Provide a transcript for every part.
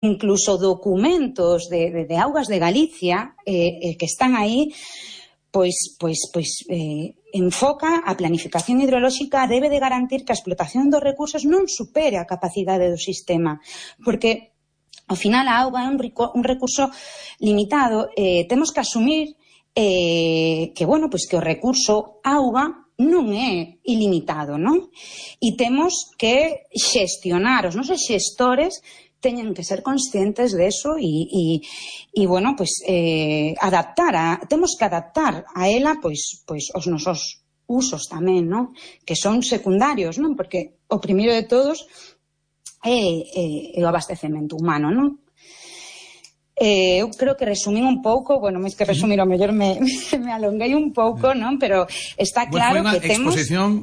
incluso documentos de Augas de Galicia que están aí, enfoca a planificación hidrolóxica debe de garantir que a explotación dos recursos non supere a capacidade do sistema, porque ao final a auga é un recurso limitado. Temos que asumir que o recurso auga non é ilimitado, non? E temos que xestionar, os nosos xestores teñen que ser conscientes de eso temos que adaptar a ela os nosos usos tamén, non? Que son secundarios, non? Porque o primeiro de todos é o abastecemento humano, non? Eu creo que resumín un pouco, máis que resumir, ao mellor me alonguei un pouco, non? Pero está claro que temos... Foi unha exposición,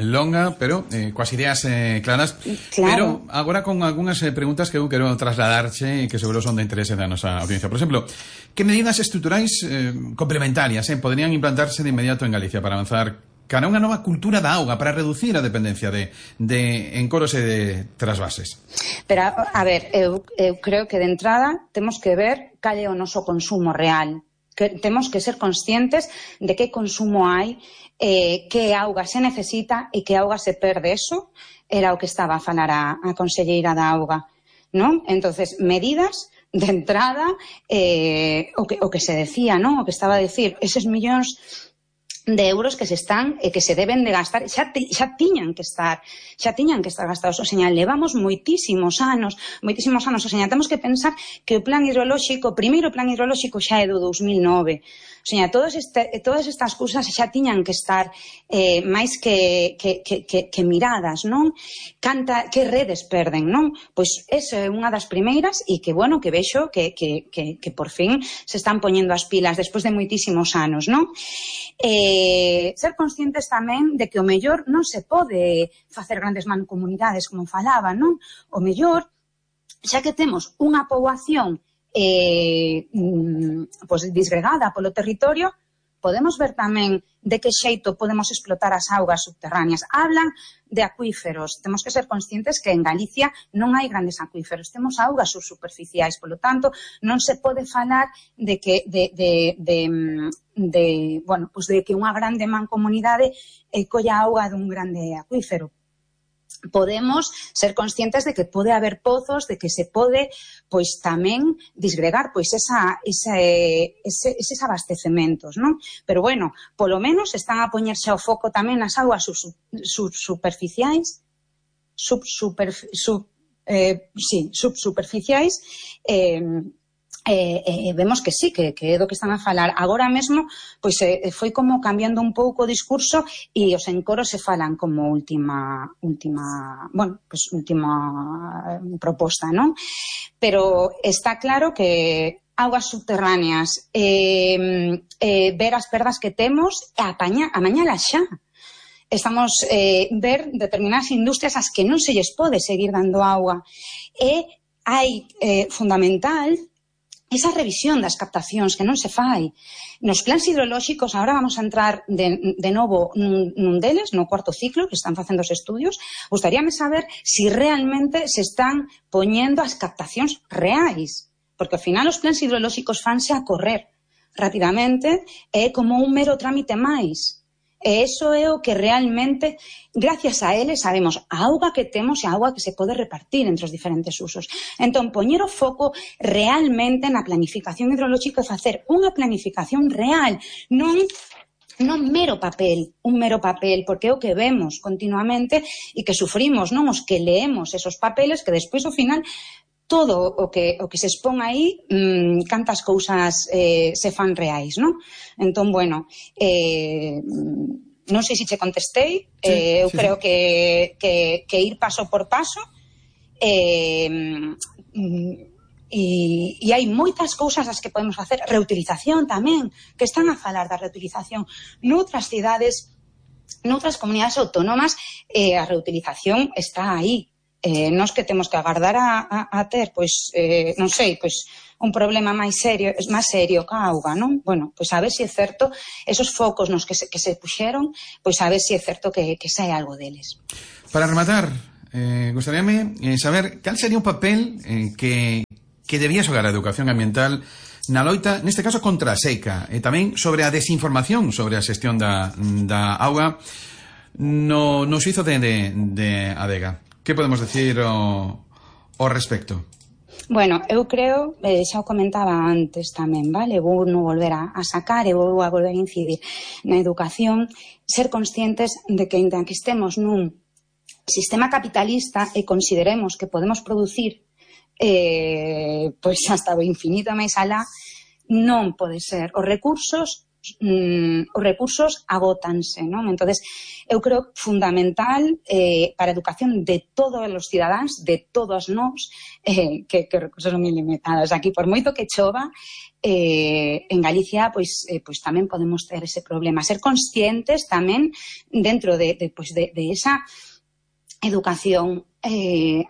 longa, pero coas ideas claras. Claro. Pero agora con algunhas preguntas que eu quero trasladarche e que seguro son de interese da nosa audiencia. Por exemplo, que medidas estruturais complementarias poderían implantarse de inmediato en Galicia para avanzar cara a unha nova cultura da auga, para reducir a dependencia de encoros e de trasvases? Pero, a ver, eu creo que de entrada temos que ver cal é o noso consumo real. Que temos que ser conscientes de que consumo hai, que auga se necesita e que auga se perde. Eso era o que estaba a falar a conselleira da auga, non? Entonces, medidas de entrada, o que se decía, non? O que estaba a decir, eses millóns de euros que se están e que se deben de gastar xa tiñan que estar gastados. O señal, levamos moitísimos anos, o señal, temos que pensar que o primeiro plan hidrolóxico xa é do 2009. O señal, todas estas cousas xa tiñan que estar máis que miradas, non? Que redes perden, non? Pois esa é unha das primeiras e que vexo que por fin se están poñendo as pilas despois de moitísimos anos, non? Ser conscientes tamén de que o mellor non se pode facer grandes mancomunidades como falaba, non? O mellor, xa que temos unha poboación disgregada polo territorio, podemos ver tamén de que xeito podemos explotar as augas subterráneas. Hablan de acuíferos. Temos que ser conscientes que en Galicia non hai grandes acuíferos. Temos augas subsuperficiais. Polo tanto, non se pode falar de que unha grande mancomunidade colla auga dun grande acuífero. Podemos ser conscientes de que pode haber pozos, de que se pode tamén disgregar eses abastecementos, non? Pero polo menos están a poñerse ao foco tamén nas augas subsuperficiais, vemos que sí, que é do que están a falar. Agora mesmo, foi como cambiando un pouco o discurso e os encoros se falan como última proposta, non? Pero está claro que augas subterráneas, ver as perdas que temos e amañalas xa. Estamos ver determinadas industrias ás que non se lles pode seguir dando auga. E hai fundamental esa revisión das captacións que non se fai. Nos plans hidrolóxicos, agora vamos a entrar de novo nun deles, no cuarto ciclo, que están facendo os estudios, gustaríame saber se realmente se están poñendo as captacións reais, porque ao final os plans hidrolóxicos fanse a correr rapidamente, é como un mero trámite máis. E iso é o que realmente, gracias a ele, sabemos a auga que temos e a auga que se pode repartir entre os diferentes usos. Entón, poñer o foco realmente na planificación hidrolóxica e facer unha planificación real, non mero papel, porque é o que vemos continuamente e que sufrimos, non os que leemos esos papeles que despois, ao final, todo o que se expón aí, cantas cousas se fan reais, non? Entón, non sei se che contestei, eu creo que ir paso por paso, e hai moitas cousas as que podemos facer. Reutilización tamén, que están a falar da reutilización noutras cidades, noutras comunidades autónomas, a reutilización está aí. Nós que temos que agardar a ter, non sei, un problema máis serio ca auga, non? A ver se é certo, esos focos nos que se puxeron, a ver se é certo que sae algo deles. Para rematar, gustaríame saber cal sería un papel que debía xogar a educación ambiental na loita, neste caso, contra a seca, e tamén sobre a desinformación sobre a xestión da auga no suizo de Adega. Que podemos decir ao respecto? Bueno, eu creo, xa o comentaba antes tamén, vale? Vou non volver a sacar e vou a volver a incidir na educación, ser conscientes de que, ainda que estemos nun sistema capitalista e consideremos que podemos producir pois hasta o infinito máis alá, non pode ser. Os recursos agótanse, non? Entonces, eu creo fundamental para a educación de todos os cidadáns, de todos nós, que recursos son ilimitados. Aquí, por moito que chova, en Galicia, pois tamén podemos ter ese problema. Ser conscientes tamén dentro de esa educación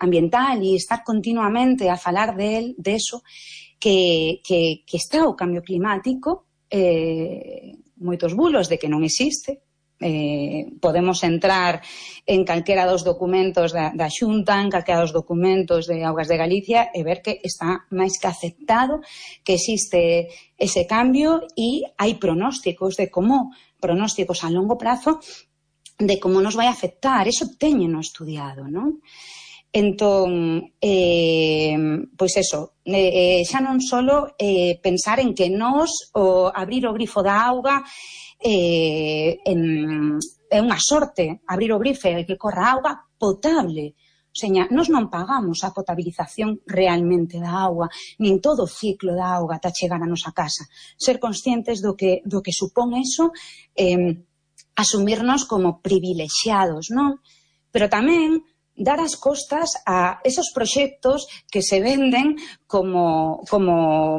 ambiental e estar continuamente a falar de eso, que está o cambio climático, moitos bulos de que non existe. Podemos entrar en calquera dos documentos da Xunta, en calquera dos documentos de Augas de Galicia e ver que está máis que aceptado que existe ese cambio, e hai pronósticos a longo prazo de como nos vai afectar. Eso téñeno estudiado, non? Entón, pois eso, xa non solo pensar en que nós abrir o grifo da auga é unha sorte, abrir o grifo e que corra auga potable. O sea, nós non pagamos a potabilización realmente da auga, nin todo o ciclo da auga ata chegar a nosa casa. Ser conscientes do que supón eso, asumirnos como privilexiados, non? Pero tamén dar as costas a esos proxectos que se venden como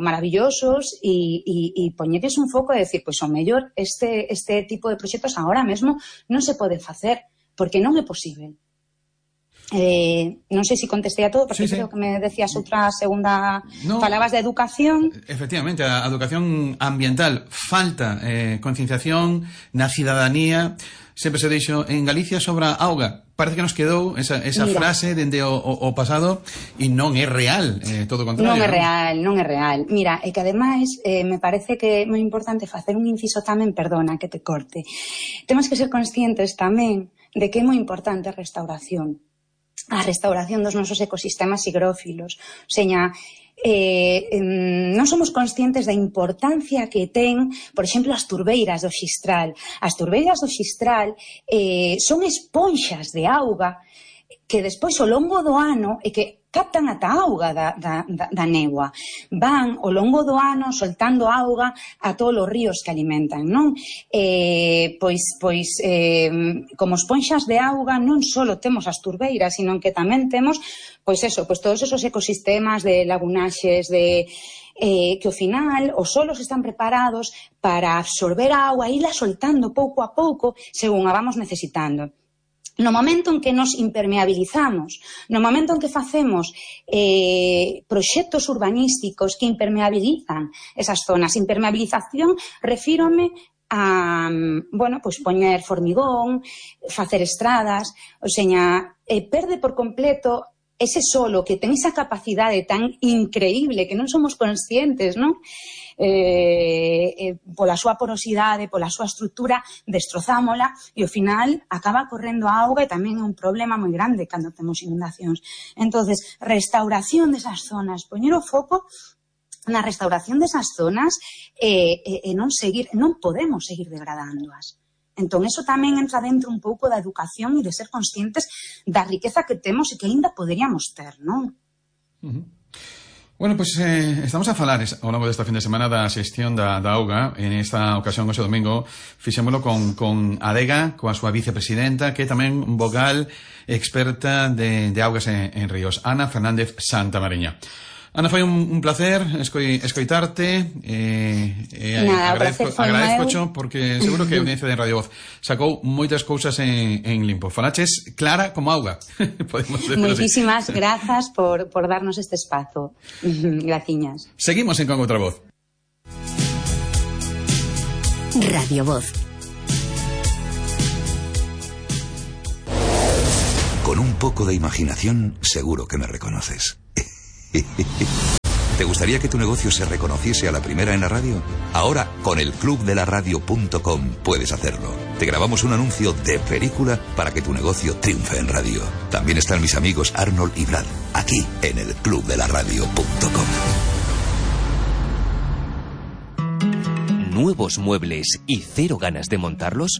maravillosos e poñedes un foco e decir, pois o mellor este tipo de proxectos agora mesmo non se pode facer, porque non é posible. Non sei se contestei a todo, porque creo que me decías outra segunda. Falabas de educación. Efectivamente, a educación ambiental. Falta concienciación na cidadanía. Sempre se dixo en Galicia sobre a auga. Parece que nos quedou esa frase dende o pasado, e non é real, todo o contrario. Non é real. Mira, é que ademais me parece que é moi importante facer un inciso tamén, perdona que te corte. Temos que ser conscientes tamén de que é moi importante a restauración dos nosos ecosistemas higrófilos. O sea, non somos conscientes da importancia que ten, por exemplo, as turbeiras do Xistral. As turbeiras do Xistral son esponxas de auga que despois ao longo do ano e que captan ata auga da néboa. Van ao longo do ano soltando auga a todos os ríos que alimentan, non? Como esponxas de auga non só temos as turbeiras, sino que tamén temos todos esos ecosistemas de lagunaxes, que ao final os solos están preparados para absorber a auga e irla soltando pouco a pouco según a vamos necesitando. No momento en que nos impermeabilizamos, no momento en que facemos proxectos urbanísticos que impermeabilizan esas zonas, impermeabilización, refírome a, poñer formigón, facer estradas, o sea, perde por completo ese solo que ten esa capacidade tan increíble que non somos conscientes, non? Pola súa porosidade, pola súa estrutura, destrozámola e ao final acaba correndo a auga, e tamén é un problema moi grande cando temos inundacións. Entonces, restauración desas zonas, poñer o foco na restauración desas zonas e non podemos seguir degradándoas. Entón, eso tamén entra dentro un pouco da educación e de ser conscientes da riqueza que temos e que aínda poderíamos ter, non? Bueno, pois estamos a falar ao longo desta fin de semana da xestión da auga. En esta ocasión, hoxe domingo, fixémolo con Adega, coa súa vicepresidenta, que é tamén vogal experta de augas en ríos, Ana Fernández Santamariña. Ana, foi un placer escoitarte. Agradezco porque seguro que a audiencia de Radio Voz sacou moitas cousas en limpo. Falaches clara como auga. Moitísimas grazas por darnos este espazo. Graciñas. Seguimos en Con Outra Voz. Radio Voz. Con un poco de imaginación, seguro que me reconoces. ¿Te gustaría que tu negocio se reconociese a la primera en la radio? Ahora, con el clubdelaradio.com puedes hacerlo. Te grabamos un anuncio de película para que tu negocio triunfe en radio. También están mis amigos Arnold y Brad, aquí en el clubdelaradio.com. ¿Nuevos muebles y cero ganas de montarlos?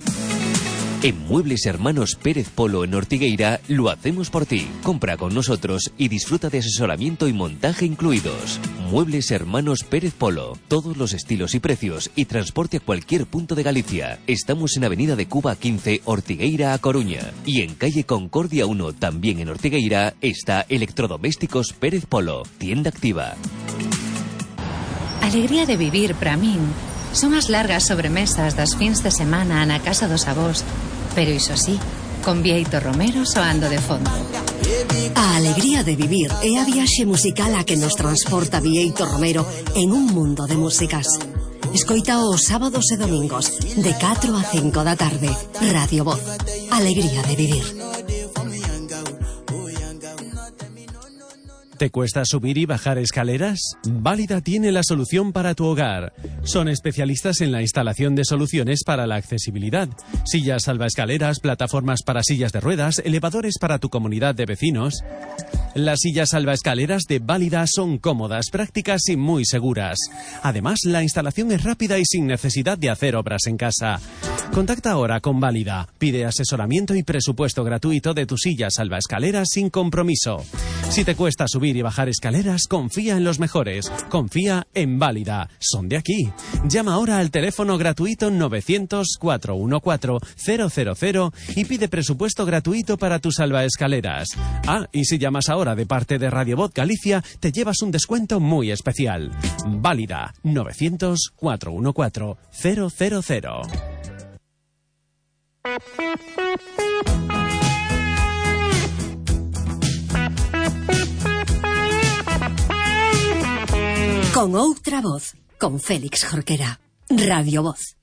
En Muebles Hermanos Pérez Polo en Ortigueira lo hacemos por ti. Compra con nosotros y disfruta de asesoramiento y montaje incluidos. Muebles Hermanos Pérez Polo. Todos los estilos y precios y transporte a cualquier punto de Galicia. Estamos en Avenida de Cuba 15, Ortigueira a Coruña. Y en calle Concordia 1, también en Ortigueira, está Electrodomésticos Pérez Polo. Tienda activa. Alegría de vivir para min son as largas sobremesas das fins de semana na casa dos avós, pero iso sí, con Bieito Romero soando de fondo. A alegría de vivir é a viaxe musical a que nos transporta Bieito Romero en un mundo de músicas. Escoita os sábados e domingos de 4 a 5 da tarde. Radio Voz. Alegría de vivir. ¿Te cuesta subir y bajar escaleras? Válida tiene la solución para tu hogar. Son especialistas en la instalación de soluciones para la accesibilidad. Sillas salvaescaleras, plataformas para sillas de ruedas, elevadores para tu comunidad de vecinos. Las sillas salvaescaleras de Válida son cómodas, prácticas y muy seguras. Además, la instalación es rápida y sin necesidad de hacer obras en casa. Contacta ahora con Válida. Pide asesoramiento y presupuesto gratuito de tu silla salvaescaleras sin compromiso. Si te cuesta subir y bajar escaleras, confía en los mejores. Confía en Válida. Son de aquí. Llama ahora al teléfono gratuito 900-414-000 y pide presupuesto gratuito para tus salvaescaleras. Ah, y si llamas ahora de parte de Radio Voz Galicia, te llevas un descuento muy especial. Válida. 900-414-000. Con outra voz, con Félix Jorquera. Radio Voz.